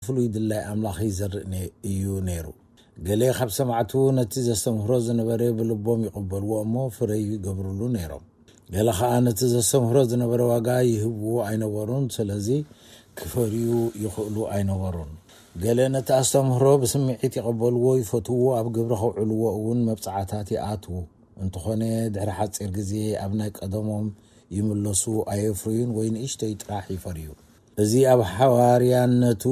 ፍሉይ ድላይ ኣምላኽ ይዘርእ እዩ ነይሩ። ገለ ካብ ሰማዕቱ ነቲ ዘስተምህሮ ዝነበረ ብልቦም ይቕበልዎ እሞ ፍረ ይገብርሉ ነይሮም። ገለ ኸኣ ነቲ ዘስተምህሮ ዝነበረ ዋጋ ይህብዎ ኣይነበሩን። ስለዚ ክፈርዩ ይኽእሉ ኣይነበሩን። ገለ ነቲ ኣስተምህሮ ብስምዒት ይቐበልዎ፣ ይፈትውዎ፣ ኣብ ግብሪ ከውዕልዎ እውን መብጽዓታት ይኣትዉ። እንተኾነ ድሕሪ ሓጺር ግዜ ኣብ ናይ ቀደሞም ይምለሱ፣ ኣየፍርዩን ወይ ንእሽተይ ጥራሕ ይፈርዩ። እዚ ኣብ ሓዋርያነቱ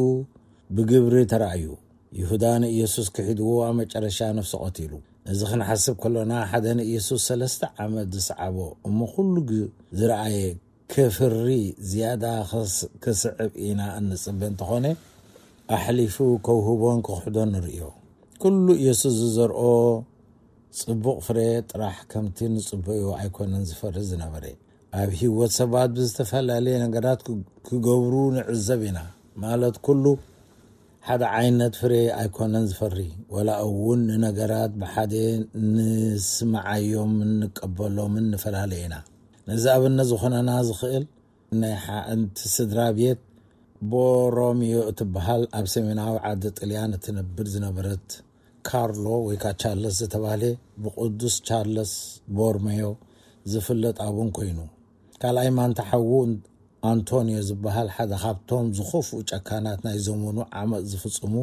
ብግብሪ ተራእዩ። ይሁዳ ንኢየሱስ ክሒድዎ ኣብ መጨረሻ ነፍሱ ቀቲሉ። እዚ ክንሓስብ ከሎና ሓደ ንኢየሱስ ሰለስተ ዓመት ዝሰዓቦ እሞ ኩሉ ዝረኣየ ክፍሪ ዝያዳ ክስዕብ ኢና እንጽበ እንተኾነ ኣሕሊፉ ከውህቦን ክኽሕዶን ንርእዮ። ኩሉ ኢየሱስ ዝዘርኦ ጽቡቕ ፍረ ጥራሕ ከምቲ ንጽበዮ ኣይኮነን ዝፈሪ ዝነበረ። ኣብ ህይወት ሰባት ብዝተፈላለየ ነገራት ክገብሩ ንዕዘብ ኢና። ማለት ኩሉ ሓደ ዓይነት ፍሬ ኣይኮነን ዝፈሪ። ወላ እውን ንነገራት ብሓደ ንስምዓዮምን ንቀበሎምን ንፈላለ ኢና። ነዚ ኣብነት ዝኾነና ዝኽእል ናይ ሓንቲ ስድራ ቤት ቦሮሚዮ እትበሃል ኣብ ሰሜናዊ ዓዲ ጥልያን እትነብር ዝነበረት ካርሎ ወይ ከዓ ቻርለስ ዝተባህለ ብቅዱስ ቻርለስ ቦርሜዮ ዝፍለጥ ኣቡን ኮይኑ፣ ካልኣይ ማንታ ሓዉ ኣንቶኒዮ ዝበሃል ሓደ ካብቶም ዝኸፍኡ ጨካናት ናይ ዘመኑ ዓመፅ ዝፍፅሙ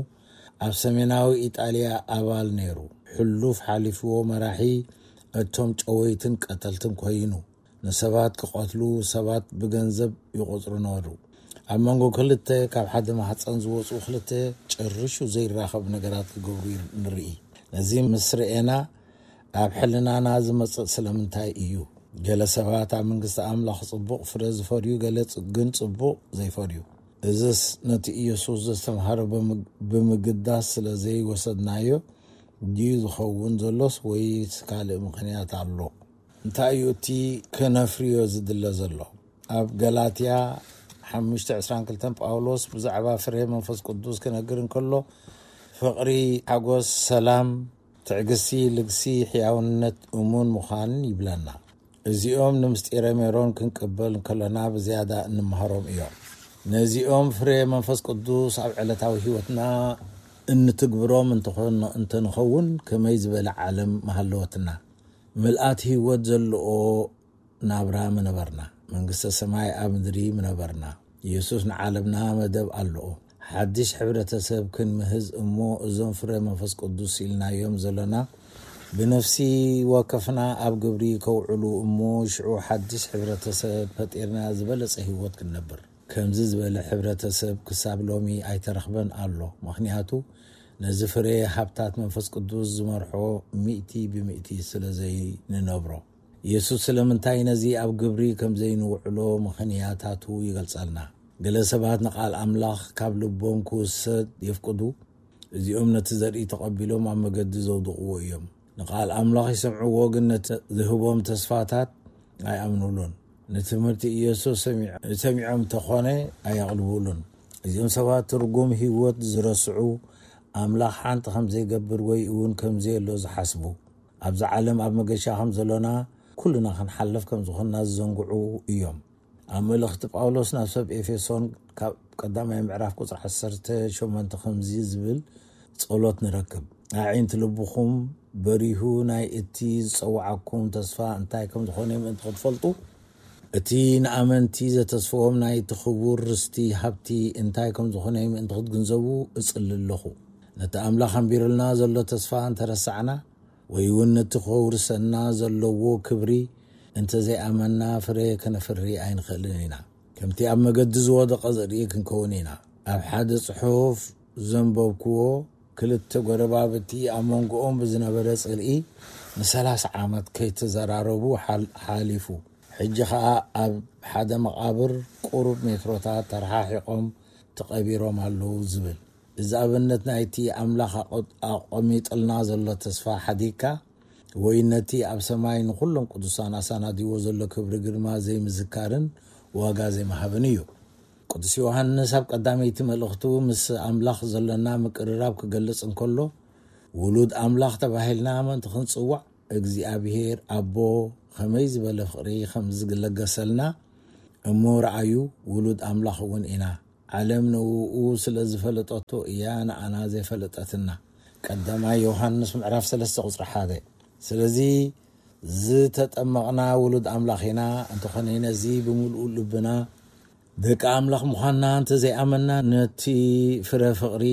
ኣብ ሰሜናዊ ኢጣልያ ኣባል ነይሩ። ሕሉፍ ሓሊፍዎ መራሒ እቶም ጨወይትን ቀተልትን ኮይኑ ንሰባት ክቐትሉ ሰባት ብገንዘብ ይቖጽሩ ነበሩ። ኣብ መንጎ ክልተ ካብ ሓደ ማህፀን ዝወፁ ክልተ ጨርሹ ዘይራኸብ ነገራት ክገብሩ ንርኢ። ነዚ ምስ ርኤና ኣብ ሕልናና ዝመፅእ ስለምንታይ እዩ? ገለ ሰባት ኣብ መንግስቲ ኣምላኽ ጽቡቕ ፍረ ዝፈርዩ፣ ገለ ግን ጽቡቕ ዘይፈርዩ። እዝስ ነቲ ኢየሱስ ዘስተምሃረ ብምግዳስ ስለ ዘይወሰድናዮ ድዩ ዝኸውን ዘሎስ ወይስ ካልእ ምኽንያት ኣሎ? እንታይ እዩ እቲ ከነፍርዮ ዝድለ ዘሎ? ኣብ ገላትያ ሓሙሽተ ዕስራን ክልተን ጳውሎስ ብዛዕባ ፍረ መንፈስ ቅዱስ ክነግር እንከሎ ፍቕሪ፣ ሓጎስ፣ ሰላም፣ ትዕግስቲ፣ ልግሲ፣ ሕያውነት፣ እሙን ምዃንን ይብለና። እዚኦም ንምስጢረ ሜሮን ክንቅበል እንከለና ብዝያዳ እንመሃሮም እዮም። ነዚኦም ፍረ መንፈስ ቅዱስ ኣብ ዕለታዊ ህይወትና እንትግብሮም እንተንኸውን ከመይ ዝበለ ዓለም ምሃለወትና። ምልኣት ህይወት ዘለዎ ናብራ ምነበርና፣ መንግስተ ሰማይ ኣብ ምድሪ ምነበርና። ኢየሱስ ንዓለምና መደብ ኣለዎ። ሓድሽ ሕብረተሰብ ክንምህዝ እሞ እዞም ፍረ መንፈስ ቅዱስ ኢልናዮም ዘለና ብነፍሲ ወከፍና ኣብ ግብሪ ከውዕሉ እሞ ሽዑ ሓድሽ ሕብረተሰብ ፈጢርና ዝበለጸ ህይወት ክንነብር። ከምዚ ዝበለ ሕብረተሰብ ክሳብ ሎሚ ኣይተረኽበን ኣሎ። ምኽንያቱ ነዚ ፍረ ሃብታት መንፈስ ቅዱስ ዝመርሖ ሚእቲ ብሚእቲ ስለ ዘይንነብሮ። ኢየሱስ ስለምንታይ ነዚ ኣብ ግብሪ ከም ዘይንውዕሎ ምኽንያታቱ ይገልጸልና። ገለ ሰባት ንቓል ኣምላኽ ካብ ልቦም ክውሰድ የፍቅዱ። እዚኦም ነቲ ዘርኢ ተቐቢሎም ኣብ መገዲ ዘውድቕዎ እዮም። ንቓል ኣምላኽ ይሰምዕዎ፣ ግን ነቲ ዝህቦም ተስፋታት ኣይኣምኑሉን። ንትምህርቲ ኢየሱስ ሰሚዖም እንተኾነ ኣየቕልቡሉን። እዚኦም ሰባት ትርጉም ህይወት ዝረስዑ፣ ኣምላኽ ሓንቲ ከም ዘይገብር ወይ እውን ከም ዘየሎ ዝሓስቡ፣ ኣብዛ ዓለም ኣብ መገሻ ከም ዘሎና ኩልና ክንሓልፍ ከም ዝኾንና ዝዘንግዑ እዮም። ኣብ መልእኽቲ ጳውሎስ ናብ ሰብ ኤፌሶን ካብ ቀዳማይ ምዕራፍ ቁጽሪ ዓሰርተ ሸሞንተ ከምዚ ዝብል ጸሎት ንረክብ። ኣዒንቲ ልብኹም በሪሁ ናይ እቲ ዝጸውዓኩም ተስፋ እንታይ ከም ዝኾነ ምእንቲ ክትፈልጡ፣ እቲ ንኣመንቲ ዘተስፍዎም ናይ እቲ ክቡር ርስቲ ሃብቲ እንታይ ከም ዝኾነ ምእንቲ ክትግንዘቡ እጽሊ ኣለኹ። ነቲ ኣምላኽ ኣንቢሩልና ዘሎ ተስፋ እንተረሳዕና፣ ወይ እውን ነቲ ከውርሰና ዘለዎ ክብሪ እንተዘይኣመና ፍረ ከነፍሪ ኣይንኽእልን ኢና። ከምቲ ኣብ መገዲ ዝወደቐ ዘርኢ ክንከውን ኢና። ኣብ ሓደ ጽሑፍ ዘንበብክዎ፣ ክልተ ጎረባብቲ ኣብ መንጎኦም ብዝነበረ ጽልኢ ንሰላሳ ዓመት ከይተዘራረቡ ሓል-፣ ሓሊፉ። ሕጂ ኸኣ ኣብ ሓደ መቓብር ቁሩብ ሜትሮታት ተረሓሒቖም ተቐቢሮም ኣለዉ ዝብል። እዚ ኣብነት ናይቲ ኣምላኽ ኣቐ-፣ ኣቐሚጥልና ዘሎ ተስፋ ሓዲግካ፣ ወይ ነቲ ኣብ ሰማይ ንኹሎም ቅዱሳን ኣሰናዲዎ ዘሎ ክብሪ ግርማ ዘይምዝካርን ዋጋ ዘይምሃብን እዩ። ቅዱስ ዮሃንስ ኣብ ቀዳመይቲ መልእኽቱ ምስ ኣምላኽ ዘለና ምቅርራብ ክገልጽ እንከሎ፣ ውሉድ ኣምላኽ ተባሂልና ምእንቲ ክንጽዋዕ፣ እግዚኣብሔር ኣቦ ኸመይ ዝበለ ፍቕሪ ኸም ዝለገሰልና እሞ ረኣዩ፣ ውሉድ ኣምላኽ እውን ኢና። ዓለም ንውኡ ስለ ዝፈለጠቶ እያ ንኣና ዘይፈለጠትና። ቀዳማይ ዮሃንስ ምዕራፍ ሰለስተ ቁጽሪ ሓደ። ስለዚ ዝተጠመቕና ውሉድ ኣምላኽ ኢና፣ እንተኾነ ነዚ ብምሉእ ልብና ደቂ ኣምላኽ ምዃንና እንተዘይኣመንና፣ ነቲ ፍረ ፍቕሪ፣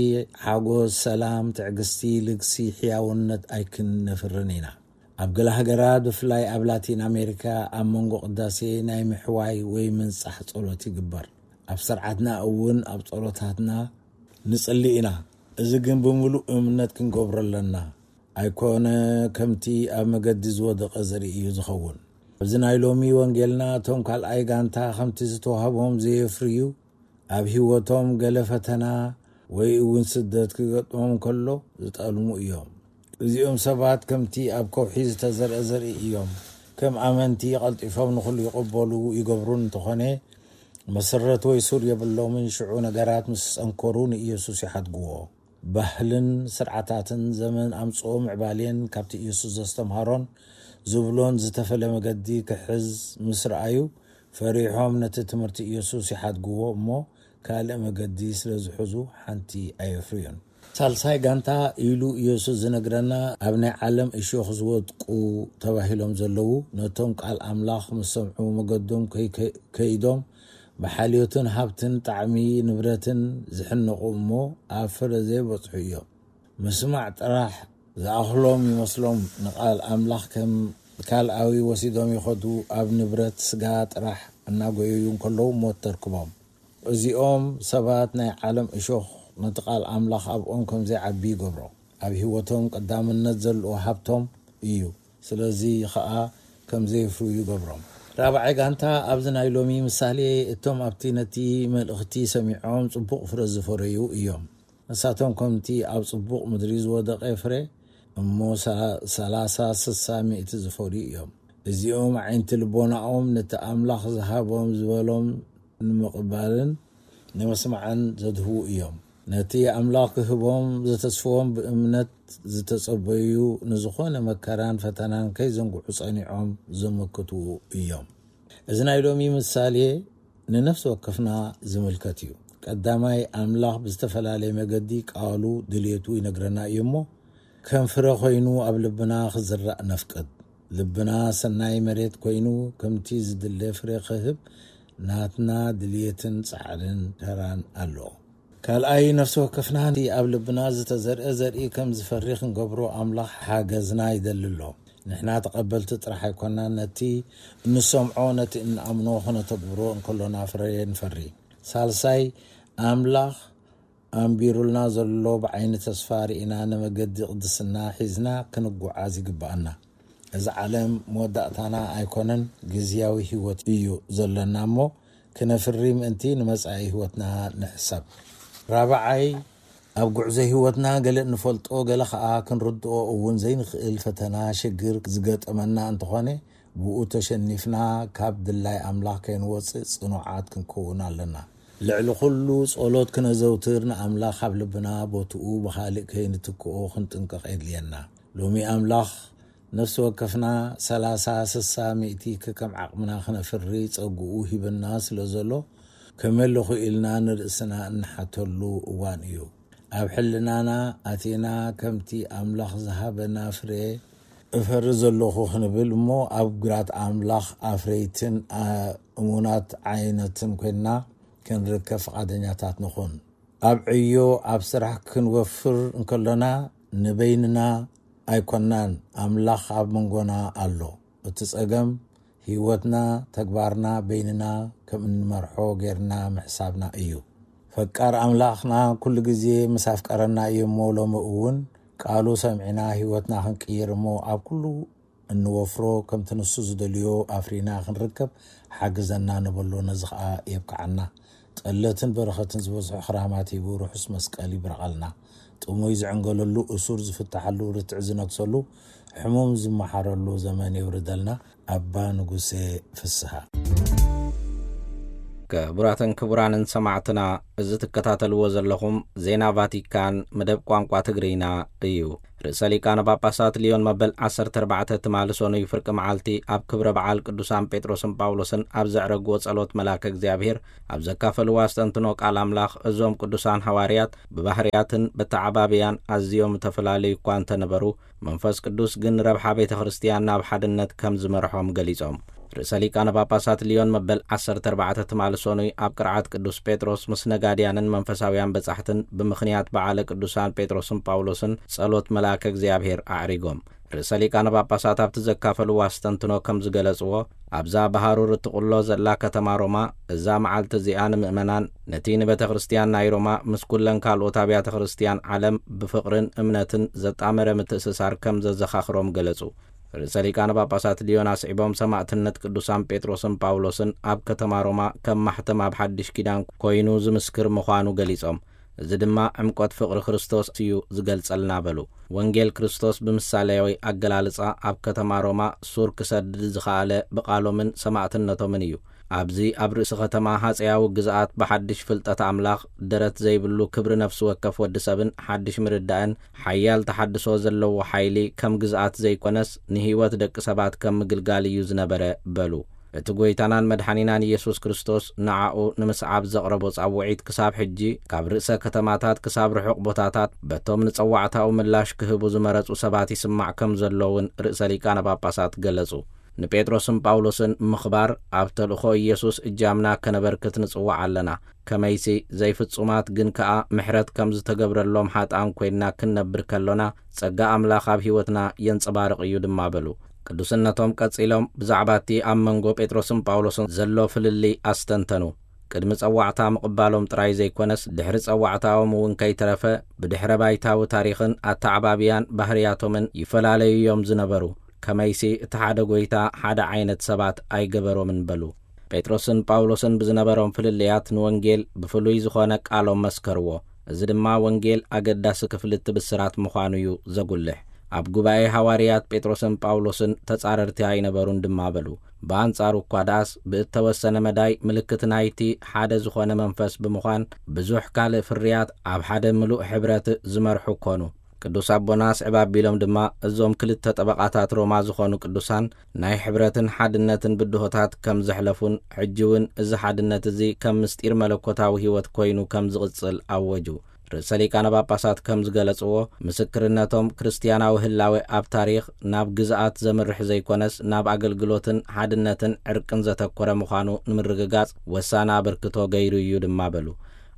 ሓጎስ፣ ሰላም፣ ትዕግስቲ፣ ልግሲ፣ ሕያውነት ኣይክነፍርን ኢና። ኣብ ገለ ሃገራት፣ ብፍላይ ኣብ ላቲን ኣሜሪካ፣ ኣብ መንጎ ቅዳሴ ናይ ምሕዋይ ወይ ምንጻሕ ጸሎት ይግበር። ኣብ ስርዓትና እውን ኣብ ጸሎታትና ንጽሊ ኢና። እዚ ግን ብምሉእ እምነት ክንገብሮ ኣለና። ኣይኮነ ከምቲ ኣብ መገዲ ዝወደቐ ዘርኢ እዩ ዝኸውን። ኣብዚ ናይ ሎሚ ወንጌልና፣ እቶም ካልኣይ ጋንታ ከምቲ ዝተዋህቦም ዘየፍርዩ፣ ኣብ ህይወቶም ገለ ፈተና ወይ እውን ስደት ክገጥሞም ከሎ ዝጠልሙ እዮም። እዚኦም ሰባት ከምቲ ኣብ ከውሒ ዝተዘርአ ዘርኢ እዮም። ከም ኣመንቲ ቀልጢፎም ንኹሉ ይቕበሉ ይገብሩን እንተኾነ፣ መሰረት ወይ ሱር የብሎምን። ሽዑ ነገራት ምስ ጸንከሩ ንኢየሱስ ይሓድግዎ። ባህልን ስርዓታትን ዘመን ኣምጽኦ ምዕባሌን ካብቲ ኢየሱስ ዘስተምሃሮን ዝብሎን ዝተፈለ መገዲ ክሕዝ ምስ ረኣዩ፣ ፈሪሖም ነቲ ትምህርቲ ኢየሱስ ይሓድግዎ እሞ ካልእ መገዲ ስለ ዝሕዙ ሓንቲ ኣየፍርዩን። ሳልሳይ ጋንታ ኢሉ ኢየሱስ ዝነግረና፣ ኣብ ናይ ዓለም እሾኽ ዝወድቁ ተባሂሎም ዘለዉ፣ ነቶም ቃል ኣምላኽ ምስ ሰምዑ መገዶም ከይ-፣ ከይዶም ብሓልዮትን ሃብትን ጣዕሚ ንብረትን ዝሕነቑ እሞ ኣብ ፍረ ዘይበጽሑ እዮም። ምስማዕ ጥራሕ ዝኣኽሎም ይመስሎም፣ ንቃል ኣምላኽ ከም ካልኣዊ ወሲዶም ይኸዱ፣ ኣብ ንብረት ስጋ ጥራሕ እናጎየዩ እንከለዉ ሞት ተርክቦም። እዚኦም ሰባት ናይ ዓለም እሾኽ ነቲ ቃል ኣምላኽ ኣብኦም ከም ዘይዓቢ ይገብሮ። ኣብ ህይወቶም ቀዳምነት ዘለዎ ሃብቶም እዩ። ስለዚ ኸኣ ከም ዘየፍርዩ ይገብሮም። ራብዓይ ጋንታ ኣብዚ ናይ ሎሚ ምሳሌ፣ እቶም ኣብቲ ነቲ መልእኽቲ ሰሚዖም ጽቡቕ ፍረ ዝፈረዩ እዮም። ንሳቶም ከምቲ ኣብ ጽቡቕ ምድሪ ዝወደቐ ፍረ እሞ ሰ-፣ ሰላሳ፣ ስሳ፣ ሚእቲ ዝፈርዩ እዮም። እዚኦም ኣዒንቲ ልቦናኦም ነቲ ኣምላኽ ዝሃቦም ዝበሎም ንምቕባልን ንምስማዕን ዘድህቡ እዮም። ነቲ ኣምላኽ ክህቦም ዘተስፍዎም ብእምነት ዝተጸበዩ፣ ንዝኾነ መከራን ፈተናን ከይዘንግዑ ጸኒዖም ዘመክቱ እዮም። እዚ ናይ ሎሚ ምሳሌ ንነፍሲ ወከፍና ዝምልከት እዩ። ቀዳማይ፣ ኣምላኽ ብዝተፈላለየ መገዲ ቃሉ ድልየቱ ይነግረና እዩ እሞ፣ ከም ፍረ ኮይኑ ኣብ ልብና ክዝራእ ነፍቅድ። ልብና ሰናይ መሬት ኮይኑ ከምቲ ዝድለ ፍረ ክህብ ናትና ድልየትን ጻዕርን ተራን ኣሎ። ካልኣይ፣ ነፍሲ ወከፍና እቲ ኣብ ልብና ዝተዘርአ ዘርኢ ከም ዝፈሪ ክንገብሮ ኣምላኽ ሓገዝና ይደሊ ኣሎ። ንሕና ተቐበልቲ ጥራሕ ኣይኮናን፣ ነቲ እንሰምዖ፣ ነቲ እንኣምኖ ክነተግብሮ እንከሎና ፍረ ንፈሪ። ሳልሳይ፣ ኣምላኽ ኣንቢሩልና ዘሎ ብዓይኒ ተስፋ ርኢና ንመገዲ ቅድስና ሒዝና ክንጓዓዝ ይግብኣና። እዚ ዓለም መወዳእታና ኣይኮነን፣ ግዝያዊ ህይወት እዩ ዘለና እሞ ክነፍሪ ምእንቲ ንመጻኢ ህይወትና ንሕሰብ። ራብዓይ፣ ኣብ ጉዕዞ ህይወትና ገለ እንፈልጦ ገለ ኸኣ ክንርድኦ እውን ዘይንኽእል ፈተና ሽግር ዝገጠመና እንተኾነ ብኡ ተሸኒፍና ካብ ድላይ ኣምላኽ ከይንወጽእ ጽኑዓት ክንከውን ኣለና። ልዕሊ ኩሉ ጸሎት ክነዘውትር ንኣምላኽ ኣብ ልብና ቦትኡ ብኻልእ ከይንትክኦ ክንጥንቀቕ የድልየና። ሎሚ ኣምላኽ ነፍሲ ወከፍና ሰላሳ፣ ስሳ፣ ሚእቲ ከከም ዓቕምና ክነፍሪ ጸግኡ ሂብና ስለ ዘሎ ከመለኹ ኢልና ንርእስና እንሓተሉ እዋን እዩ። ኣብ ሕልናና ኣቲና ከምቲ ኣምላኽ ዝሃበና ፍሬ እፈሪ ዘለኹ ክንብል እሞ ኣብ ግራት ኣምላኽ ኣፍረይትን ኣ-፣ እሙናት ዓይነትን ኮይንና ክንርከብ ፍቓደኛታት ንኹን። ኣብ ዕዮ ኣብ ስራሕ ክንወፍር እንከሎና ንበይንና ኣይኮናን፣ ኣምላኽ ኣብ መንጎና ኣሎ። እቲ ጸገም ህይወትና፣ ተግባርና በይንና ከም እንመርሖ ጌርና ምሕሳብና እዩ። ፈቃር ኣምላኽና ኩሉ ግዜ ምስ ኣፍቀረና እዩ እሞ ሎሚ እውን ቃሉ ሰሚዕና ህይወትና ክንቅይር እሞ ኣብ ኩሉ እንወፍሮ ከምቲ ንሱ ዝደልዮ ኣፍሪና ክንርከብ ሓግዘና ንበሎ፣ ነዚ ኸኣ የብቅዓና። ጠለትን በረኸትን ዝበዝሖ ክራማት ሂቡ ርሑስ መስቀል ይብረቐልና። ጥሙይ ዝዕንገለሉ፣ እሱር ዝፍታሓሉ፣ ርትዕ ዝነግሰሉ፣ ሕሙም ዝመሓረሉ ዘመን የውርደልና። ኣባ ንጉሴ ፍስሃ። ክቡራትን ክቡራንን ሰማዕትና፣ እዚ ትከታተልዎ ዘለኹም ዜና ቫቲካን መደብ ቋንቋ ትግርይና እዩ። ርእሰ ሊቃነ ጳጳሳት ሊዮን መበል ዓሰርተ ኣርባዕተ ትማሊ ሰኑይ ፍርቂ መዓልቲ ኣብ ክብረ በዓል ቅዱሳን ጴጥሮስን ጳውሎስን ኣብ ዘዕረግዎ ጸሎት መልኣከ እግዚኣብሔር ኣብ ዘካፈልዎ ኣስተንትኖ ቃል ኣምላኽ፣ እዞም ቅዱሳን ሃዋርያት ብባህርያትን በተዓባብያን ኣዝዮም ዝተፈላለዩ እኳ እንተነበሩ፣ መንፈስ ቅዱስ ግን ረብሓ ቤተ ክርስቲያን ናብ ሓድነት ከም ዝመርሖም ገሊጾም። ርእሰ ሊቃነ ጳጳሳት ሊዮን መበል ዓሰርተ ኣርባዕተ ትማሊ ሰኑይ ኣብ ቅርዓት ቅዱስ ጴጥሮስ ምስ ነጋድያንን መንፈሳውያን በጻሕትን ብምኽንያት በዓለ ቅዱሳን ጴጥሮስን ጳውሎስን ጸሎት መልኣከ እግዚኣብሔር ኣዕሪጎም። ርእሰ ሊቃነ ጳጳሳት ኣብቲ ዘካፈልዎ ኣስተንትኖ ከም ዝገለጽዎ፣ ኣብዛ ብሃሩር እትቕሎ ዘላ ከተማ ሮማ፣ እዛ መዓልቲ እዚኣ ንምእመናን፣ ነቲ ንቤተ ክርስቲያን ናይ ሮማ ምስ ኩለን ካልኦት ኣብያተ ክርስቲያን ዓለም ብፍቕርን እምነትን ዘጣመረ ምትእስሳር ከም ዘዘኻኽሮም ገለጹ። ርእሰ ሊቃነ ጳጳሳት ሊዮን ኣስዒቦም፣ ሰማዕትነት ቅዱሳን ጴጥሮስን ጳውሎስን ኣብ ከተማ ሮማ ከም ማሕተም ኣብ ሓድሽ ኪዳን ኮይኑ ዝምስክር ምዃኑ ገሊጾም፣ እዚ ድማ ዕምቆት ፍቕሪ ክርስቶስ እዩ ዝገልጸልና በሉ። ወንጌል ክርስቶስ ብምሳሌያዊ ኣገላልጻ ኣብ ከተማ ሮማ ሱር ክሰድድ ዝኸኣለ ብቓሎምን ሰማዕትነቶምን እዩ። ኣብዚ ኣብ ርእሲ ከተማ ሃጸያዊ ግዝኣት ብሓድሽ ፍልጠት ኣምላኽ ደረት ዘይብሉ ክብሪ ነፍሲ ወከፍ ወዲ ሰብን ሓድሽ ምርዳእን ሓያል ተሓድሶ ዘለዎ ሓይሊ ከም ግዝኣት ዘይኮነስ ንህይወት ደቂ ሰባት ከም ምግልጋል እዩ ዝነበረ በሉ። እቲ ጐይታናን መድሓኒናን ኢየሱስ ክርስቶስ ንዓኡ ንምስዓብ ዘቕረቦ ጻውዒት ክሳብ ሕጂ ካብ ርእሰ ከተማታት ክሳብ ርሑቕ ቦታታት በቶም ንጸዋዕታኡ ምላሽ ክህቡ ዝመረጹ ሰባት ይስማዕ ከም ዘሎ እውን ርእሰ ሊቃነ ጳጳሳት ገለጹ። ንጴጥሮስን ጳውሎስን ምኽባር ኣብ ተልእኾ ኢየሱስ እጃምና ከነበርክት ንጽዋዕ ኣለና። ከመይሲ ዘይፍጹማት ግን ከኣ ምሕረት ከም ዝተገብረሎም ሓጥኣን ኮይንና ክንነብር ከሎና ጸጋ ኣምላኽ ኣብ ሕይወትና የንጸባርቕ እዩ ድማ በሉ። ቅዱስነቶም ቀጺሎም ብዛዕባ እቲ ኣብ መንጎ ጴጥሮስን ጳውሎስን ዘሎ ፍልልይ ኣስተንተኑ። ቅድሚ ጸዋዕታ ምቕባሎም ጥራይ ዘይኮነስ ድሕሪ ጸዋዕታኦም እውን ከይተረፈ ብድሕረ ባይታዊ ታሪኽን ኣተዓባብያን ባህርያቶምን ይፈላለዩ እዮም ዝነበሩ። ከመይሲ እቲ ሓደ ጐይታ ሓደ ዓይነት ሰባት ኣይገበሮምን በሉ። ጴጥሮስን ጳውሎስን ብዝነበሮም ፍልልያት ንወንጌል ብፍሉይ ዝኾነ ቃሎም መስከርዎ። እዚ ድማ ወንጌል ኣገዳሲ ክፍሊ እቲ ብስራት ምዃኑ እዩ ዘጉልሕ። ኣብ ጉባኤ ሃዋርያት ጴጥሮስን ጳውሎስን ተጻረርቲ ኣይነበሩን ድማ በሉ። ብኣንጻሩ እኳ ደኣስ ብእተወሰነ መዳይ ምልክት ናይቲ ሓደ ዝኾነ መንፈስ ብምዃን ብዙሕ ካልእ ፍርያት ኣብ ሓደ ምሉእ ሕብረት ዝመርሑ ኮኑ። ቅዱስ ኣቦና ኣስዕብ ኣቢሎም ድማ እዞም ክልተ ጠበቓታት ሮማ ዝኾኑ ቅዱሳን ናይ ሕብረትን ሓድነትን ብድሆታት ከም ዘሕለፉን ሕጂ እውን እዚ ሓድነት እዚ ከም ምስጢር መለኮታዊ ሕይወት ኮይኑ ከም ዝቕጽል ኣወጁ። ርእሰ ሊቃነ ጳጳሳት ከም ዝገለጽዎ፣ ምስክርነቶም ክርስትያናዊ ህላዌ ኣብ ታሪኽ ናብ ግዝኣት ዘምርሕ ዘይኮነስ ናብ ኣገልግሎትን ሓድነትን ዕርቅን ዘተኮረ ምዃኑ ንምርግጋጽ ወሳኒ ኣበርክቶ ገይሩ እዩ ድማ በሉ።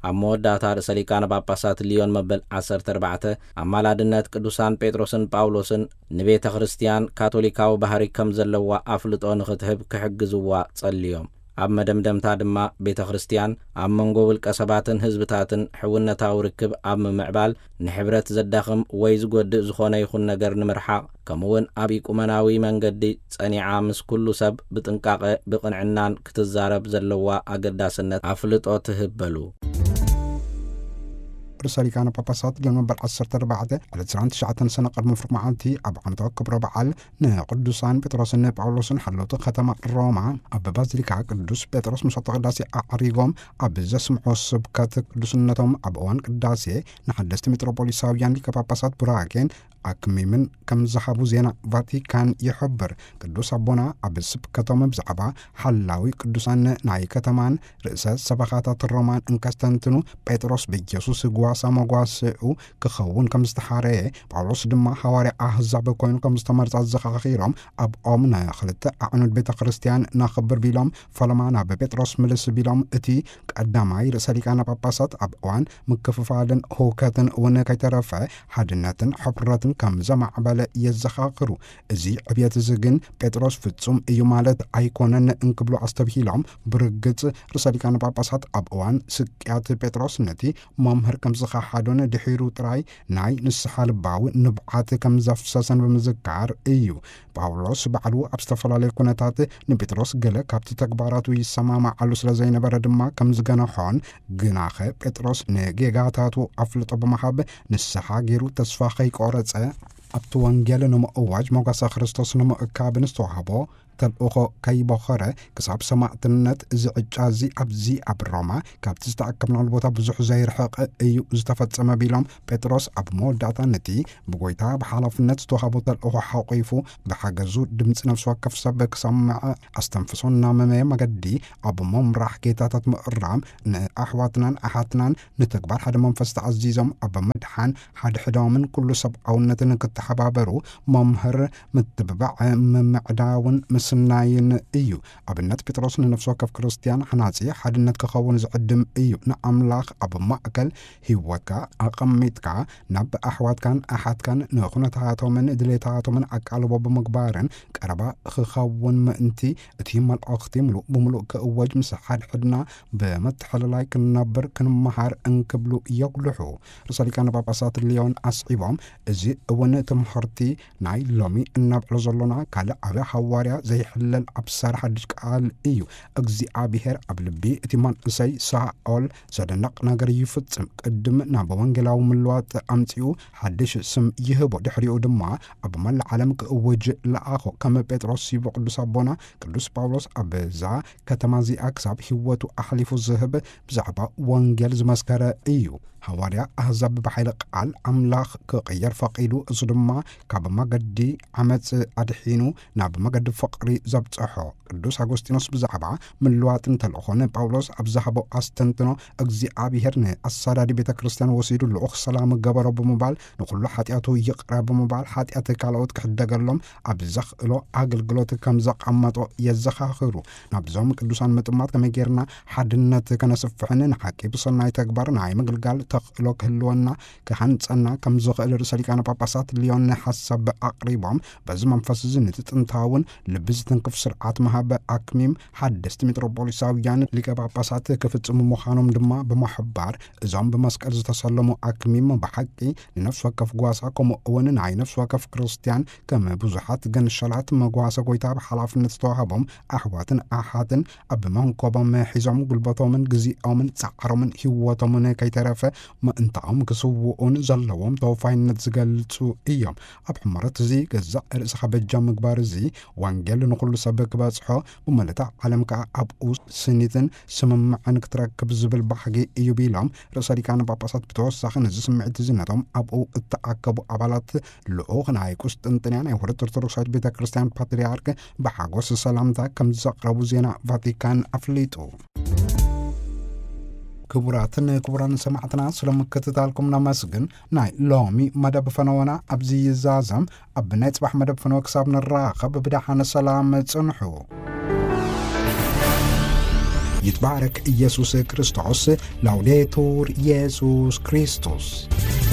ኣብ መወዳእታ ርእሰ ሊቃነ ጳጳሳት ሊዮን መበል ዓሰርተ ኣርባዕተ ኣማላድነት ቅዱሳን ጴጥሮስን ጳውሎስን ንቤተ ክርስቲያን ካቶሊካዊ ባህሪ ከም ዘለዋ ኣፍልጦ ንኽትህብ ክሕግዝዋ ጸልዮም። ኣብ መደምደምታ ድማ ቤተ ክርስቲያን ኣብ መንጎ ውልቀ ሰባትን ህዝብታትን ሕውነታዊ ርክብ ኣብ ምምዕባል ንሕብረት ዘዳኽም ወይ ዝጎድእ ዝኾነ ይኹን ነገር ንምርሓቕ ከምኡውን ኣብ ኢቁመናዊ መንገዲ ጸኒዓ ምስ ኩሉ ሰብ ብጥንቃቐ ብቕንዕናን ክትዛረብ ዘለዋ ኣገዳስነት ኣፍልጦ ትህብ በሉ። ርእሰ ሊቃነ ጳጳሳት ሊዮን መበል ዓሰርተ ኣርባዕተ ዕለት ዕስራን ትሽዓተን ሰነ ቅድሚ ፍርቂ መዓልቲ ኣብ ዓመታዊ ክብረ በዓል ንቅዱሳን ጴጥሮስን ጳውሎስን ሓለውቲ ከተማ ሮማ ኣብ ባዚሊካ ቅዱስ ጴጥሮስ መስዋዕተ ቅዳሴ ኣዕሪጎም ኣብ ዘስምዖ ስብከት ቅዱስነቶም ኣብ እዋን ቅዳሴ ንሓደስቲ ሜትሮፖሊሳውያን ሊቀ ጳጳሳት ቡራኬን ኣክሚምን ከም ዝሃቡ ዜና ቫቲካን ይሕብር። ቅዱስ ኣቦና ኣብ ስብከቶም ብዛዕባ ሓላዊ ቅዱሳን ናይ ከተማን ርእሰ ሰበኻታት ሮማን እንከስተንትኑ፣ ጴጥሮስ ብኢየሱስ ጓሳ መጓስኡ ክኸውን ከም ዝተሓረየ፣ ጳውሎስ ድማ ሃዋርያ ኣህዛብ ኮይኑ ከም ዝተመርጸ ኣዘኻኺሮም፣ ኣብኦም ንኽልተ ኣዕኑድ ቤተ ክርስቲያን ነኽብር ቢሎም፣ ፈለማ ናብ ጴጥሮስ ምልስ ቢሎም፣ እቲ ቀዳማይ ርእሰ ሊቃነ ጳጳሳት ኣብ እዋን ምክፍፋልን ህውከትን እውን ከይተረፈ ሓድነትን ሕፍረትን ከም ዘማዕበለ የዘኻኽሩ። እዚ ዕብየት እዚ ግን ጴጥሮስ ፍጹም እዩ ማለት ኣይኮነን እንክብሉ ኣስተብሂሎም፣ ብርግጽ ርእሰ ሊቃነ ጳጳሳት ኣብ እዋን ስቅያት ጴጥሮስ ነቲ መምህር ከም ዝኸሓዶን ድሒሩ ጥራይ ናይ ንስሓ ልባዊ ንብዓት ከም ዘፍሰሰን ብምዝካር እዩ። ጳውሎስ ባዕሉ ኣብ ዝተፈላለዩ ኩነታት ንጴጥሮስ ገለ ካብቲ ተግባራቱ ይሰማማዓሉ ስለ ዘይነበረ ድማ ከም ዝገነሖን፣ ግናኸ ጴጥሮስ ንጌጋታቱ ኣፍልጦ ብምሃብ ንስሓ ገይሩ ተስፋ ከይቆረጸ ኣብቲ ወንጌል ንምእዋጅ ሞገሰ ክርስቶስ ንምእካብ ንዝተዋህቦ ተልእኾ ከይቦኸረ ክሳብ ሰማዕትነት እዚ ዕጫ እዚ ኣብዚ ኣብ ሮማ ካብቲ ዝተኣከብናሉ ቦታ ብዙሕ ዘይርሕቕ እዩ ዝተፈጸመ ቢሎም፣ ጴጥሮስ ኣብ መወዳእታ ነቲ ብጎይታ ብሓላፍነት ዝተዋህቦ ተልእኾ ሓቑፉ ብሓገዙ ድምፂ ነፍሲ ወከፍ ሰብ ክሰምዕ ኣስተንፍሶ እናመመየ መገዲ ኣብ መምራሕ ጌታታት ምእራም ንኣሕዋትናን ኣሓትናን ንተግባር ሓደ መንፈስ ተኣዚዞም ኣብ ምድሓን ሓድሕዶምን ኩሉ ሰብኣውነትን ክተሓባበሩ መምህር ምትብባዕ ምምዕዳውን ምስናይን እዩ። ኣብነት ጴጥሮስ ንነፍሲ ወከፍ ክርስትያን ሓናጺ ሓድነት ክኸውን ዝዕድም እዩ። ንኣምላኽ ኣብ ማእከል ህይወትካ ኣቐሚጥካ ናብ ኣሕዋትካን ኣሓትካን ንኹነታቶምን ድሌታቶምን ኣቃልቦ ብምግባርን ቀረባ ክኸውን ምእንቲ እቲ መልእኽቲ ምሉእ ብምሉእ ክእወጅ ምስ ሓድሕድና ብመተሓለላይ ክንነብር ክንመሃር እንክብሉ የጉልሑ። ርእሰ ሊቃነ ጳጳሳት ሊዮን ኣስዒቦም፣ እዚ እውን ትምህርቲ ናይ ሎሚ እናብዕሎ ዘሎና ካልእ ዓቢ ሃዋርያ ዘይሕለል ኣብሳሪ ሓድሽ ቃል እዩ። እግዚኣብሔር ኣብ ልቢ እቲ መንእሰይ ሳኦል ዘደንቕ ነገር ይፍጽም። ቅድም ናብ ወንጌላዊ ምልዋጥ ኣምጺኡ ሓድሽ ስም ይህቦ። ድሕሪኡ ድማ ኣብ መላእ ዓለም ክእውጅ ለኣኾ። ከም ጴጥሮስ ይቦ ቅዱስ ኣቦና ቅዱስ ጳውሎስ ኣብዛ ከተማ እዚኣ ክሳብ ህይወቱ ኣሕሊፉ ዝህብ ብዛዕባ ወንጌል ዝመስከረ እዩ። ሃዋርያ ኣህዛብ ብሓይሊ ቃል ኣምላኽ ክቕየር ፈቒዱ፣ እሱ ድማ ካብ መገዲ ዓመጽ ኣድሒኑ ናብ መገዲ ፍቕሪ ዘብጽሖ። ቅዱስ ኣጎስጢኖስ ብዛዕባ ምልዋጥን ተልእኾን ጳውሎስ ኣብ ዝሃቦ ኣስተንትኖ፣ እግዚኣብሔር ንኣሳዳዲ ቤተ ክርስቲያን ወሲዱ ልኡኽ ሰላም ገበሮ ብምባል፣ ንኹሉ ሓጢኣቱ ይቕረ ብምባል፣ ሓጢኣት ካልኦት ክሕደገሎም ኣብ ዘኽእሎ ኣገልግሎት ከም ዘቐመጦ የዘኻኽሩ። ናብዞም ቅዱሳን ምጥማት ከመይ ጌርና ሓድነት ከነስፍሕን ንሓቂ ብሰናይ ተግባር ናይ ምግልጋል ተኽእሎ ክህልወና ክሃንጸና ከም ዝኽእል ርእሰ ሊቃነ ጳጳሳት ሊዮን ሓሳብ ኣቕሪቦም፣ በዚ መንፈስ እዚ ነቲ ጥንታውን ልቢ ዝትንክፍ ስርዓት መሃበ ኣክሚም ሓደስቲ ሜትሮፖሊሳውያን ሊቀ ጳጳሳት ክፍጽሙ ምዃኖም ድማ ብምሕባር፣ እዞም ብመስቀል ዝተሰለሙ ኣክሚም ብሓቂ ንነፍሲ ወከፍ ጓሳ፣ ከምኡ እውን ናይ ነፍሲ ወከፍ ክርስትያን ከም ብዙሓት ገንሸላት መጓሰ ጎይታ ብሓላፍነት ዝተዋህቦም ኣሕዋትን ኣሓትን ኣብ መንኮቦም ሒዞም ጉልበቶምን ግዜኦምን ጻዕሮምን ህይወቶምን ከይተረፈ ምእንታኦም ክስውኡን ዘለዎም ተወፋይነት ዝገልጹ እዮም። ኣብ ሕመረት እዚ ገዛእ ርእስኻ በጃ ምግባር እዚ ወንጌል ንኹሉ ሰብ ክበጽሖ፣ ብመለታ ዓለም ከኣ ኣብኡ ስኒትን ስምምዕን ክትረክብ ዝብል ባህጊ እዩ ቢሎም፣ ርእሰ ሊቃነ ጳጳሳት ብተወሳኺ ነዚ ስምዒት እዚ ነቶም ኣብኡ እተኣከቡ ኣባላት ልኡኽ ናይ ቁስጥንጥንያ ናይ ውህደት ኦርቶዶክሳዊት ቤተ ክርስቲያን ፓትርያርክ ብሓጎስ ሰላምታ ከም ዘቕረቡ ዜና ቫቲካን ኣፍሊጡ። ክቡራትን ክቡራን ሰማዕትና፣ ስለ ምክትታልኩም ነመስግን። ናይ ሎሚ መደብ ፈነወና ኣብዚ ይዛዘም። ኣብ ናይ ጽባሕ መደብ ፈነወ ክሳብ ንራኸብ ብደሓነ ሰላም ጽንሑ። ይትባረክ ኢየሱስ ክርስቶስ። ላውዴቱር ኢየሱስ ክርስቶስ።